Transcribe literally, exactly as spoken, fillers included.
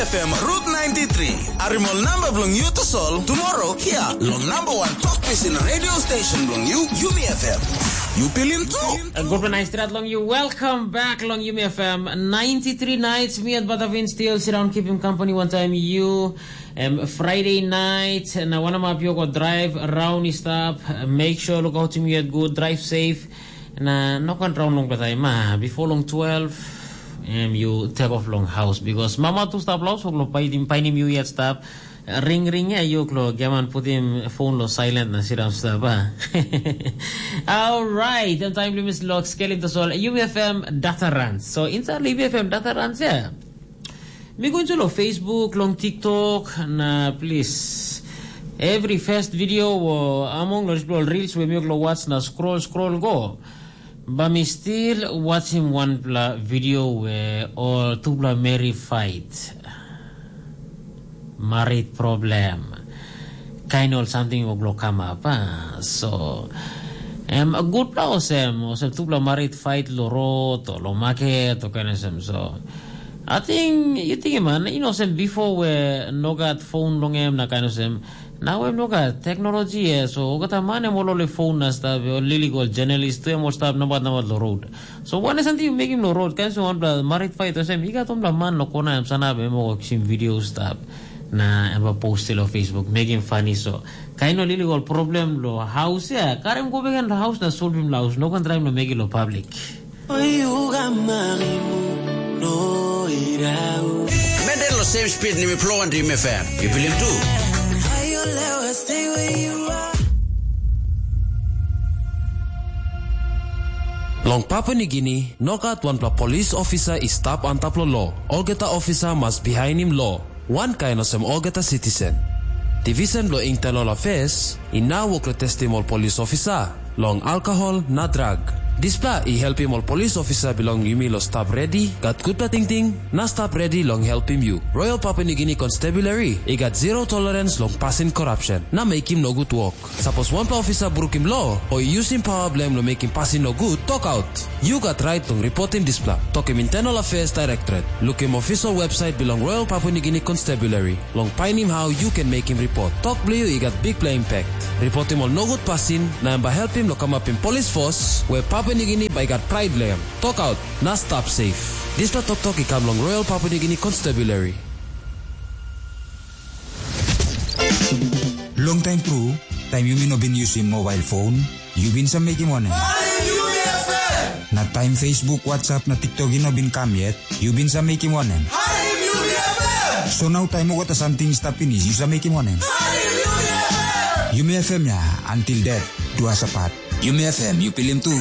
F M Route ninety-three. Arimol namba bilong yu tasol tomorrow hia long number one talk pisin radio station bilong yu, Yumi F M. Yu pilim tu? Gutpela nais strat long yu. Welcome back long Yumi F M ninety-three nights. Me and Batavin still sit down, keeping company one time you. Um, Friday night, na wanamap yu go drive around i stap. Make sure look out him yet good, drive safe. Na no kan raun long batai ma, before long twelve, em yu take off long house because mama tu stap laus lo painim painim yu yet stap. Ring ring ya yu klo geman putim phone lo silent na siram stap ah. Alright, em time limit lo skelim tasol U F M data runs. So inside U F M data runs ya. Mi go into lo Facebook, long TikTok, na please. Every first video o among lo reels we mi lo watch na scroll scroll go. Ba mi still watching wanpela video where all tupela meri fight. Marit problem. Kain ol samting wok lo kamap. Ah. So, em a gutpela olsem, olsem tupela marit fight lo rot o lo market o kain olsem. So, I think, you think man, you know, sem before where no got phone long em na kain olsem. Nau em no gat teknologi ya, so olgeta man em ol oli fon na stap, ol illegal journalist tu em ol stap nabat nabat lo road. So wane samting yu mekim lo road, kain olsem wanpela marit fight olsem, i gat wanpela man lo kona em sanap em ol kisim video stap. Na em ba post lo Facebook, mekim funny so. Kain ol illegal problem lo haus ya, karim go beken lo haus na solvim lo haus, no kan traim lo mekim lo public. Oyu ga marimu no irau. Menden lo same speed ni mi flow and dream F M. You feel him too? Ayo lewa stay where you are. Long Papua Nigini, no gat wanpela polis ofisa i stap antap lo lo. Olgeta ofisa mas bihainim lo. Wankain olsem olgeta sitisen. Divisen bilong Internal Affairs i nau wok long testim ol polis ofisa long alkohol na drag. Dispela i helpim ol polis ofisa bilong yumi long stap redi, gat gutpela tingting, na stap redi long helpim yu. Royal Papua Nigini Constabulary i gat zero tolerance long pasin korapsen na mekim nogut wok. Sapos wanpela ofisa brukim lo o i yusim pawa bilong em long mekim pasin nogut, tokaut. Yu gat rait long ripotim dispela. Tokim Internal Affairs Directorate. Lukim official website bilong Royal Papua Nigini Constabulary long painim hau yu ken mekim ripot. Tok bilong yu i gat bikpela impact. Ripotim ol nogut pasin, na em bai helpim long kamapim polis fos we Papua Nigini bai gat prait long em. Tokaut, na stap safe. Dispela toktok i kam long Royal Papua Nigini Constabulary. Long taim tru, taim yumi no bin yusim mobail fon, yu bin sa mekim wanem? Harim Yumi F M! Na taim Facebook, WhatsApp na TikTok i no bin kam yet, yu bin sa mekim wanem? Harim Yumi F M! So nau taim olgeta samting i stap pinis, yu sa mekim wanem? Harim Yumi F M! Yumi F M ya, until death do us apart. Yumi F M, yu pilim tu?